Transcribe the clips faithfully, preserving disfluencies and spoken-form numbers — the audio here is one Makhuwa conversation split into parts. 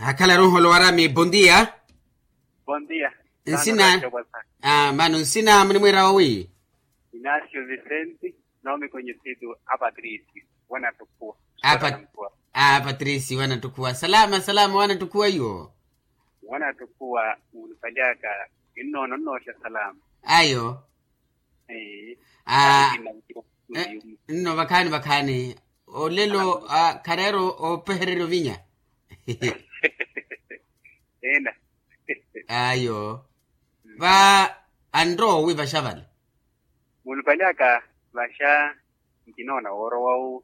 Akhala runholo warami bondia. Bondia. Nsina. Mano nsina munimwira owi? Inacio vicente. Nomi conhecido a patricio. Wana tukua. A patricio wana tukua salama salama wana tukua yo. Wana tukua. Unipaliaka. Innono nnosha salama. Ayo. Nno vakhaani vakhaani. Olelo khareera opehererya ovinya. Ena. Ayo. Va anrowi vaxa vale. Munupalihaka vaxa. Nkinoona woorowa wu.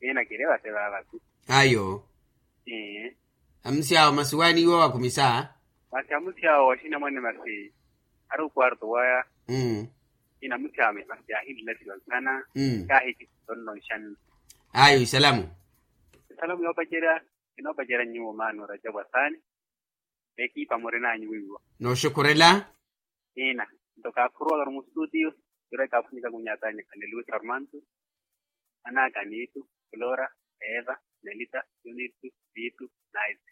Ena kiri vate vavatu. Ayo. Amusi awo masi waaniiwa wakhumisa. Masi amusi awo waxinamwane masi. Ari okwarto waya. Inamusi awo masi yaahinlelasiwa nsana. Kaahikisa tonno nxanno. Ayo isalamu. Isalamu yoopacerya. Kinoopacerya nyuwo maano rajabu asaani. Ekipa murinanyu wiiwa. Nooxukurela. Ina. Nto kaakhuruwaka mustutiyo. Kiro ekaaphwanyaka kunyatanya khale luis armando. Anaka nitu, flora, eva, melita, yunitu, vitu, naisi.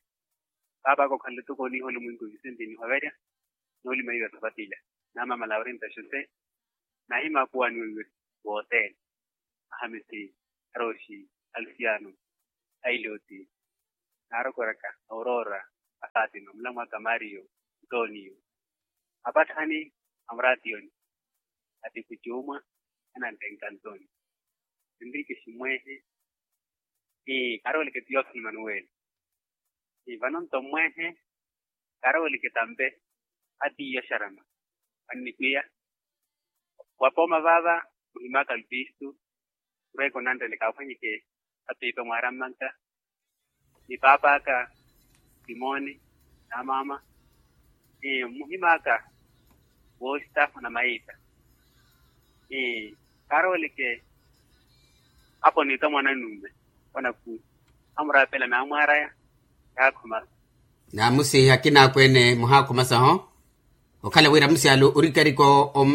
Paapaka okhanle tuku oniiha olimwinko visenti nihoverya. Noolima iwe sapatila. Namamala orinta xose. Nahima akuwani weiwe. Wootene. Ahamisi, aroxi, alusiano, ailioti, naarokoraka, aurora, afatima mulamwaka mario, antonio, apatthani, amurationi, atiku cuumwa, anantenka antoni. Enrike ximwehe. Ii karooleke tiyofi manuweli. Ii vano nto mmwehe. Karooleke tampe. Atiiya xarama. Annikwiya. Wapooma vaava. Muhimaka lupistu. Mureke onanrele kaaphwanyeke. Apiipa mwarammanka. Ni paapaka. Simoni. Namama. Ni muhimaka. Woositahu na mayiita. Ni karooleke. Apo niita mwanannumme. Wanakuuti. Amuraapela naamwaaraya. Yaakhumasa. Naamusi akina akweene muhaakhumasa ho. Okhala wira amusi ale orikarika.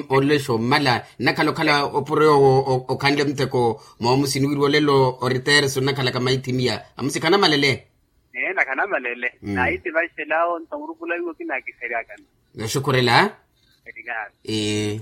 Olexa ommala nnakhala okhala opuro yoowo. Okhanle mutheko moomusi niwiriwa olelo oritereso nnakhalaka maithimiya amusi khanamalele. Neena khanamalele. Naitivaxela awo nto murupula iwo kinakiseryakana. Noxukhurela. Ee.